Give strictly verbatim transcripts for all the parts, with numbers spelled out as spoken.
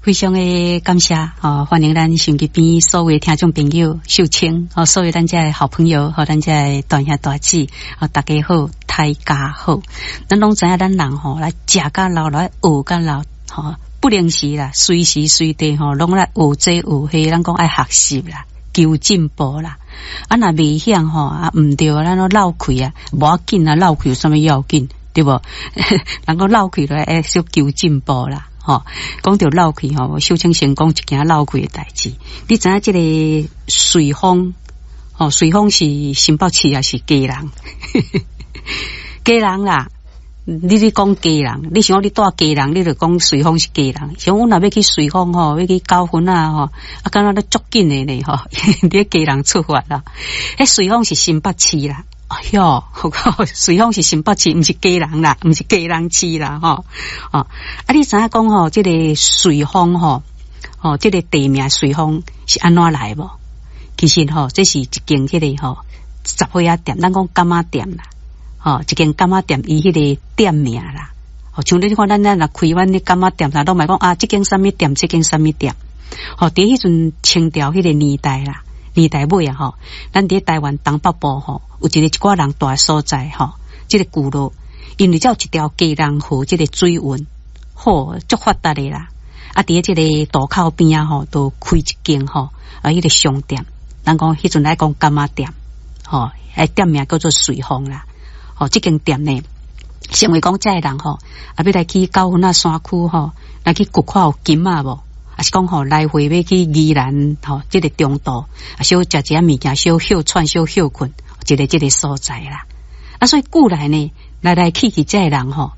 非常的感謝，吼，歡迎咱收音機邊所有聽眾朋友秀清，吼，所有咱遮的好朋友，和咱遮的大兄大姊，吼，大家好，大家好。咱攏知影咱人吼，來食甲老，來學甲老，吼，不能時啦，隨時隨地吼，攏來學這學彼，咱講愛學習啦，求進步啦。啊，若袂曉吼，啊，毋對，咱攏落氣啊，無要緊啊，落氣有啥物要緊，對無？人講落氣來會小求進步啦。吼，講著落氣吼，秀清先講一件落氣的代誌。你知影這個瑞豐，吼，瑞豐是新北市抑是基隆？基隆啦，你咧講基隆，你想講你蹛基隆，你就講瑞豐是基隆。像阮若欲去瑞豐吼，欲去九份仔吼，啊，敢若咧足緊的呢吼，佇基隆出發啦。彼瑞豐是新北市啦。哎喲，瑞豐是新北市，毋是基隆啦，毋是基隆市啦，吼。哦，啊，你知影講吼，這個瑞豐吼，吼，這個地名瑞豐是按怎來無？其實吼，這是一間彼個吼雜貨仔店，咱講柑仔店啦，吼，一間柑仔店伊彼個店名啦。吼，像你看咱咱若開阮的柑仔店，攏嘛講啊，這間啥物店，這間啥物店。吼，佇彼陣清朝彼個年代啦。年代尾啊吼，咱佇台灣東北部吼，有一個一寡人蹛所在吼，這個聚落，因為才有一條基隆河，這個水運好足發達的啦。啊，佇這個渡口邊仔吼，都開一間吼，啊，彼個商店，咱講彼陣來講柑仔店，吼，彼店名叫做瑞豐啦。吼，這間店呢，成為講遮的人吼，啊，欲來去九份仔山區吼，來去掘看有金仔無？抑是講吼，來回欲去宜蘭吼，這個中途啊，小食一下物件，小歇喘，小歇睏，一个這個所在啦。啊，所以久來呢，來來去去遮的人吼，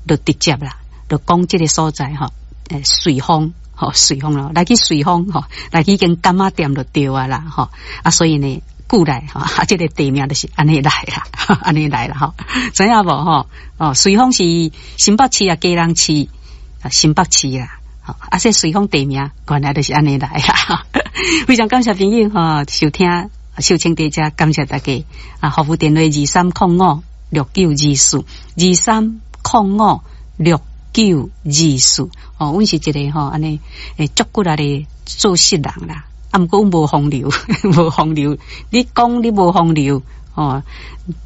就直接啦，就講這個所在吼，欸，瑞豐吼，瑞豐咯，來去瑞豐吼，來去間柑仔店就對啊啦吼。啊，所以呢，久來吼，啊，這個地名就是按呢來啦，按呢來啦吼，知影無吼？哦，瑞豐是新北市啊，基隆市啊，新北市啦。啊，這瑞豐地名原來就是按呢來啦。非常感謝朋友吼收聽秀清佇遮，感謝大家啊！服務電話二三空五六九二四二三空五六九二四哦，阮是一個吼按呢會足骨力的做事人啦。啊，毋過阮無風流，無風流。你講你無風流哦，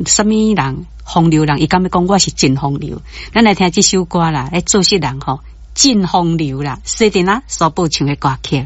啥物人風流人？伊敢欲講我是真風流？咱來聽這首歌啦，欸，做事人吼。真風流啦，細陣啊，所播唱的歌曲。